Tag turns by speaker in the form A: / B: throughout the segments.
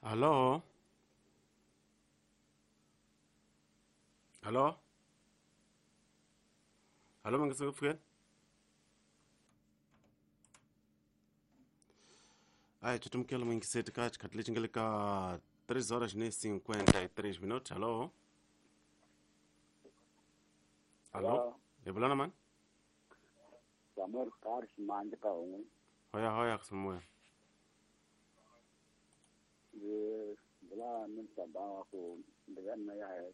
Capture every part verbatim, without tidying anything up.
A: Alo? Alo? Alo, mangisi kupfukeni? Ai, tutumkela mwingiseti ka xikhathi lexi nga le ka três horas ni cinquenta e três minutos. Alo? Alo?
B: Hello,
A: Hi vula na mani?
B: Samuel Carlos Mande ka un'we.
A: Hoya hoya Samuel.
B: Ndzi vula ni msamba wa ku mbilu ya mina ya henhla.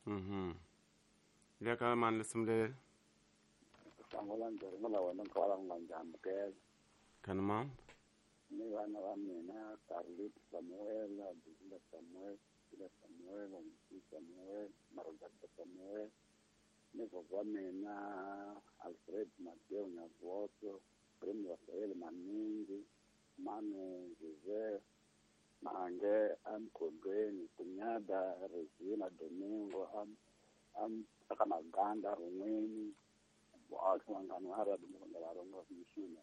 A: Mhm. Le ka mani lisimu leri?
B: Sangola ndzi ringula wena nkwala u nga ndzi amukela.
A: Kani mama?
B: Ni vana va mina Carlito Samuel, Abdullah Samuel, Sila Samuel, Msi Samuel, Marogata Samuel, ni vovho wa mina Alfred Mateo Nyavoto, Primo Rafael Maningi, Manu Jose Mange Amkhondweni, Kunyada Regina Domingo am am aka Maganda Run'weni, vaaki vangani va ra va rhonga mixini.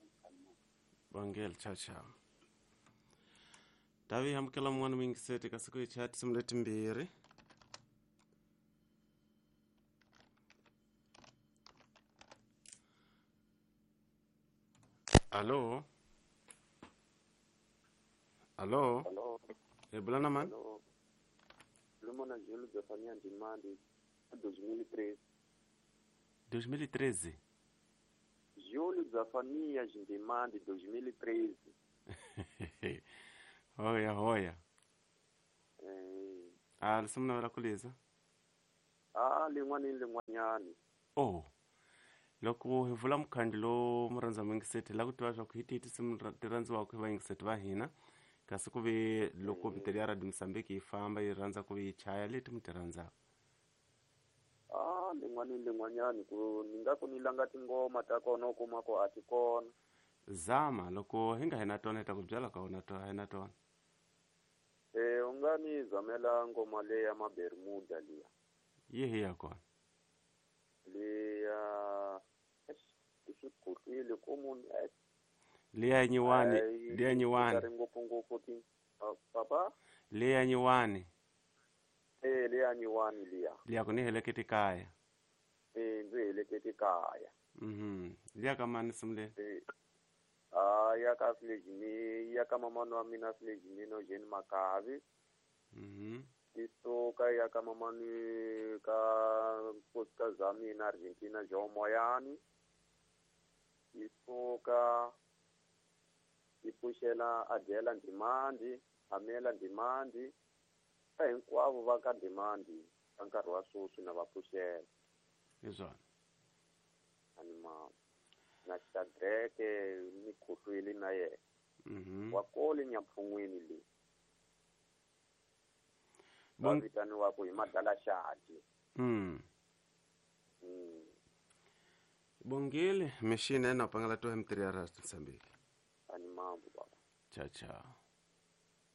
A: Bongel ciao ciao. Tavi amukela mun'wana muyingiseti ka siku hi chaya tinsimu letimbirhi. Alo? Alo?
C: Hello,
A: Hi vula na mani?
C: hello. Lumona Júlio Zefania Ndimande, dois mil e treze.
A: dois mil e treze.
C: Júlio Zefanias Ndimande, dois mil e treze.
A: Hoya hoya.
C: Eh,
A: Ah, lisimu navela ku liza.
C: ah, lin'wana ni lin'wanyani.
A: Oh. Loko hi vula mukhandlu lowu murhandza muyingiseti hi lava ku tiva swa ku hi tihi tinsimu ra- ti rhandziwaka hi vayingiseti va hina kasi ku ve loko
C: Eh,
A: mitele ya Radio Mozambique yi famba yi rhandza ku yi chaya leti mi ti rhandzaka.
C: ah, lin'wana ni lin'wanyani ku ni nga ku ni langa tingoma ta kona u kuma ku a ti kona.
A: Zama loko hi nga hi na tona hi ta ku byela ka wona to hi na tona.
C: Eh, u nga ni zamela ngoma leya ya Mabermuda liya.
A: Yi hi ya kona.
C: Liya eish, i swi khohlwile ku munhu eh,
A: Liya nyiwani,
C: hayi
A: liya
C: ti
A: nyiwani,
C: ri ngopfungopfu ti ah, papa
A: liya nyiwani,
C: eh liya nyiwani liya.
A: liya ku ni heleketi kaya.
C: Eh, ndzi heleketi kaya.
A: Mhm. Liya ka mani nsimu leyi?
C: Eh, ah, ya ka Filejini, ya ka mamani wa mina Filejini no Jane Makavi.
A: Mhm.
C: Ti suka ya ka mamani ka nkosikazi wa mina Argentina Joe Moyani. Yi suka yi pfuxela Adela Ndimandi, Amela Ndimandi, ka hinkwavo va ka Ndimandi ka nkarhi wa sweswi na va pfuxela.
A: Hi swona.
C: Ani ma na Shadrake ni khohlwile na yena.
A: Mhm.
C: Wa kole Nyampfun'wini leyi va
A: Bon
C: vitaniwaka hi Madalaxadi.
A: mm.
C: Mm.
A: Bongile mixini ena pangala to M three ya Radio Mozambique.
C: Ani mambo baba.
A: Ciao ciao.